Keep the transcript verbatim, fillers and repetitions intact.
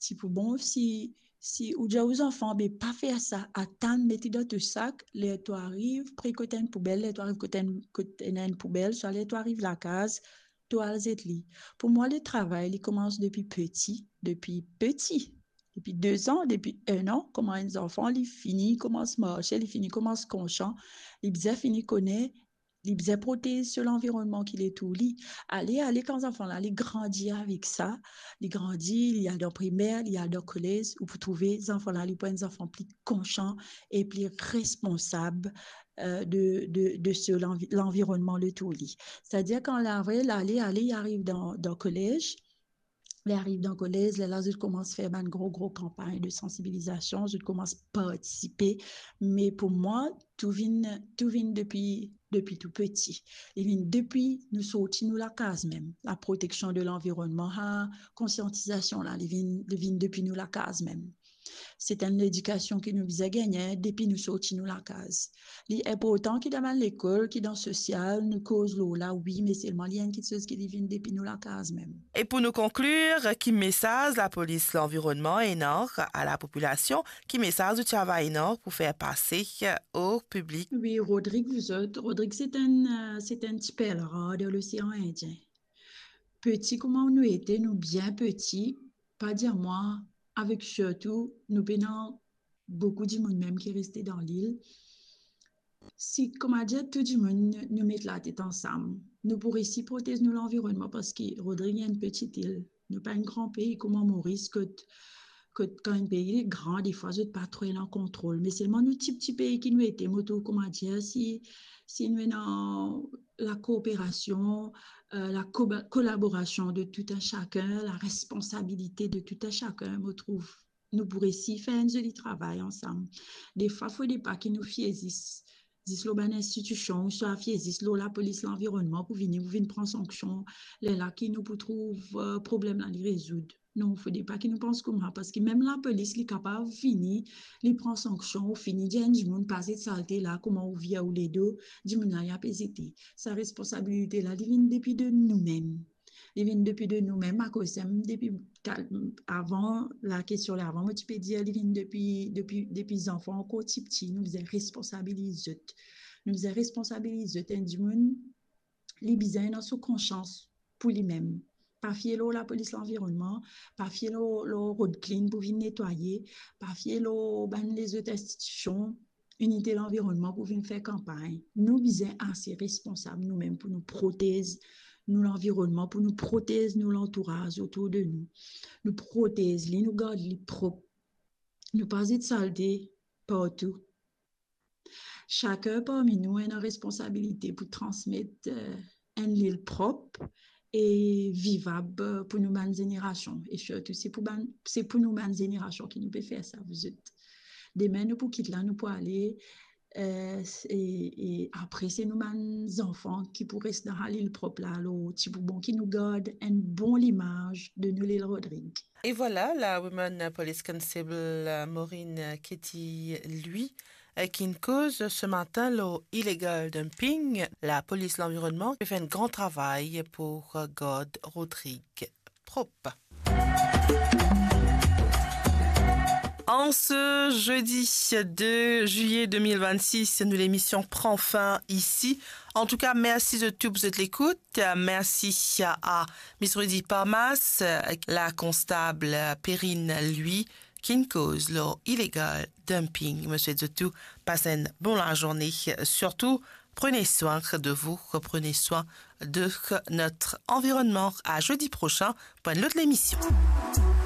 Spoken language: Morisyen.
Ti pou bon si, si ou dir ou zanfan, be pa fer sa, atann, met li dan to sak, ler to ariv pre kot enn poubel, ler to ariv kot enn, kot ena enn poubel, swa ler to ariv lakaz, to al zet li. Pou mwa, le travay, li koumans depi peti, depi peti. Depi de zan, depi enn an, kouma enn zanfan, li fini koumans marse, li fini koumans konsian, li bizin fini kone, li bizin protez so lanvironnman ki letour li. Ale, ale, kan zanfan la, li grandi avek sa, li grandi, li al dan primer, li al dan kolez, ou pou trouve zanfan la, li pou enn zanfan pli konsian e pli responsab, euh, de, de, de so lanvi-, lanvironnman letour li. Setadir kan la, vre, la, ale, ale, li ariv dan, dan kolez, li ariv dan kolez, lerla zot koumans fer bann gro, gro kanpagn de sansibilizasion, zot koumans partisipe. Me pou mwa, tou vinn, tou vinn depi, depi tou peti. Li vinn depi nou sorti nou lakaz mem. La proteksion de lanvironnman, ha, konsiantizasion la, li vinn, li vinn depi nou lakaz mem. Se enn ledikasion ki nou bizin gagne depi nou sorti nou lakaz. Li inportan ki dan bann lekol, ki dan sosial, nou koz lor la, wi, me selman li enn kiksoz ki li vinn depi nou lakaz mem. E pou nou konklir, ki mesaz lapolis lanvironnman ena a lapopilasion? Ki mesaz ou ti ava ena pou fer pase o piblik? Wi, Rodrig, vous autres, Rodrig, se enn, euh, se enn ti perl rar dan Losean Indien. Peti kouma nou ete, nou bien peti, pa dir mwa, avek sirtou, nou pena boukou dimoun mem ki reste dan lil. Si, kouma dir, tou dimoun, nou met latet ansam, nou pou resi protez nou lanvironnman, parski Rodrig enn peti il, nou pa enn gran pei kouma Moris, kot, kot kan enn pei li gran, defwa zot pa tro ena kontrol. Me selman nou ti, ti pei ki nou ete, mo trouv, kouma dir, si, si nou ena lakoperasion, euh, la koba-, kolaborasion de tout un chacun, la responsabilite de tout un chacun, mo trouv nou pou resi fer enn zoli travay ansam. Defwa, fode pa ki nou fie zis, zis lor bann institision, ouswa fie zis lor lapolis lanvironnman pou vini, pou vinn pran sanksion, lerla ki nou pou trouv, euh, problem la li rezoud. Non, fode pa ki nou pans kouma, parski mem lapolis, li kapav vini, li pran sanksion, ou fini dir enn dimoun pa zet salte la, kouma ou vir ou ledo, dimoun la, li ape zete. Sa responsabilite la, li vinn depi de nou mem. Li vinn depi de nou mem, akoz sa, depi kal-, avan, lakestion la avan, mo ti pe dir, li vinn depi, depi, depi zanfan ankor tipti, nou bizin responsabiliz zot. Nou bizin responsabiliz zot, enn dimoun, li bizin ena so konsians pou limem. Pa fie lor lapolis lanvironnman, pa fie lor, lor Road Clean pou vinn netwaye, pa fie lor bann lezot institision, Inite Lanvironnman pou vinn fer kanpagn. Nou bizin ase responsab nou mem pou nou protez nou lanvironnman, pou nou protez nou lantouraz otour de nou. Nou protez li, nou gard li prop. Nou pa zet salte partou. Sakenn parmi nou ena responsabilite pou transmet, eh, enn lil prop e vivab, eh, pou nou bann zenerasion. E sirtou, se pou bann, se pou nou bann zenerasion ki nou pe fer sa, vous êtes. Demin, nou pou kit la, nou pou ale, eh, e, e apre, se nou bann zanfan ki pou res dan sa lil prop la. Alor, ti pou bon ki nou gard enn bon limaz de nou lil Rodrig. E vwala, la Woman Police Constable, euh, Maureen Ketty, lui, euh, ki'nn koz se matin lor illegal dumping. Lapolis lanvironnman pe fer enn gran travay pou, euh, gard Rodrig prop. En ce jeudi deux juillet deux mille vingt-six, nou lemision pran fin isi. Antouka, mersi zot tou pou zot lekout. Mersi a Miss Rudy Parmas, la konstab Perrine, lui, ki'nn koz lor illegal dumping. Mo swet zot tou pas enn bon lazourne. Surtout, prenez soin de vous, prenez soin de notre environnement. À jeudi prochain pour une autre émission.